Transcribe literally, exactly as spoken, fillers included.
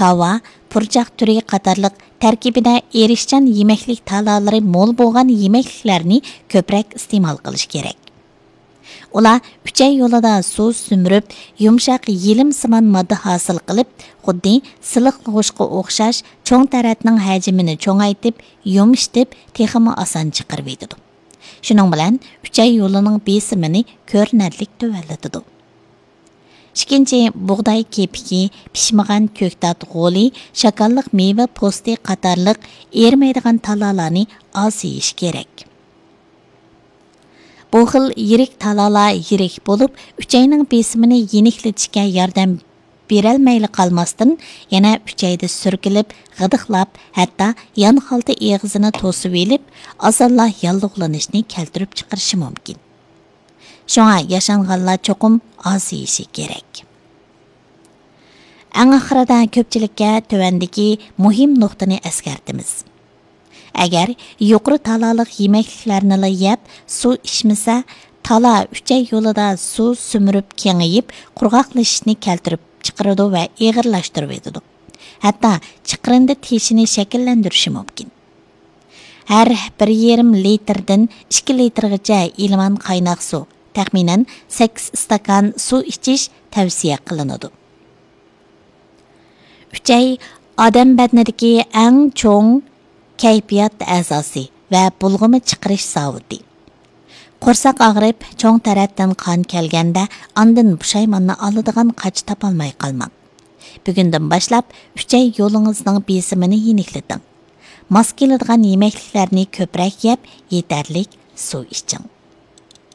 داۋا، پۇرچاق تۈرى قاتارلىق تەركىبىدە ئېرىشچان يېمەكلىك تالالىرى مول بولغان يېمەكلىكلەرنى كۆپرەك ئىستېمال قىلىش كېرەك. ئۇلار ئۈچەي يولىدا سۇ سۈمۈرۈپ، يۇمشاق يېلىمسىمان ماددا ھاسىل قىلىپ، خۇددى سىلىقلىغۇچقا ئوخشاش چوڭ تەرەتنىڭ ھەجمىنى چوڭايتىپ، يۇمشىتىپ، تېخىمۇ ئاسان چىقىرىۋېتىدۇ. شۇنىڭ بىلەن ئۈچەي يولىنىڭ بېسىمىنى كۆرۈنەرلىك تۆۋەنلىتىدۇ. ئىككىنچى، بۇغداي كېپىكى، پىشمىغان كۆكتات غولى، شاكاللىق مېۋە پوستى قاتارلىق ئېرىمەيدىغان تالالارنى ئاز يېيىش كېرەك. بۇ خىل يىرىك تالالار يىرىك بولۇپ، ئۈچەينىڭ بېسىمىنى يېنىكلىتىشكە ياردەم بېرەلمەيلا قالماستىن، يەنە ئۈچەيدە سۈركىلىپ، غىدىقلاپ، ھەتتا يانخالتا ئېغىزىنى توسۇۋېلىپ، ئاسانلا ياللۇغلىنىشنى كەلتۈرۈپ چىقىرىشى مۇمكىن. شۇڭا ياشانغانلار چوقۇم ئاز يېيىشى كېرەك. ئەڭ ئاخىرىدا كۆپچىلىككە تۆۋەندىكى مۇھىم نۇقتىنى ئەسكەرتىمىز. ئەگەر يۇقىرى تالالىق يېمەكلىكلەرنىلا يەپ، سۇ ئىچمىسە، تالا ئۈچەي يولىدا سۇ سۈمۈرۈپ كېڭىيىپ، قۇرغاقلىشىشنى كەلتۈرۈپ چىقىرىدۇ ۋە ئېغىرلاشتۇرۇۋېتىدۇ. ھەتتا چىقىرىندى تېشىنى شەكىللەندۈرۈشى مۇمكىن. ھەر بىر يېرىم لىتىردىن ئىككى لىتىرغىچە ئىلمان قايناق سۇ، تەخمىنەن سەككىز ئىستاكان سۇ ئىچىش تەۋسىيە قىلىنىدۇ. ئۈچەي ئادەم بەدىنىدىكى ئەڭ چوڭ كەيپىيات ئەزاسى ۋە بۇلغىما چىقىرىش زاۋۇتى. قورساق ئاغرىپ، چوڭ تەرەتتىن قان كەلگەندە، ئاندىن پۇشايماننى ئالىدىغان قاچا تاپالماي قالماڭ. بۈگۈندىن باشلاپ ئۈچەي يولىڭىزنىڭ بېسىمىنى يېنىكلىتىڭ. ماس كېلىدىغان يېمەكلىكلەرنى كۆپرەك يەپ، يېتەرلىك سۇ ئىچىڭ.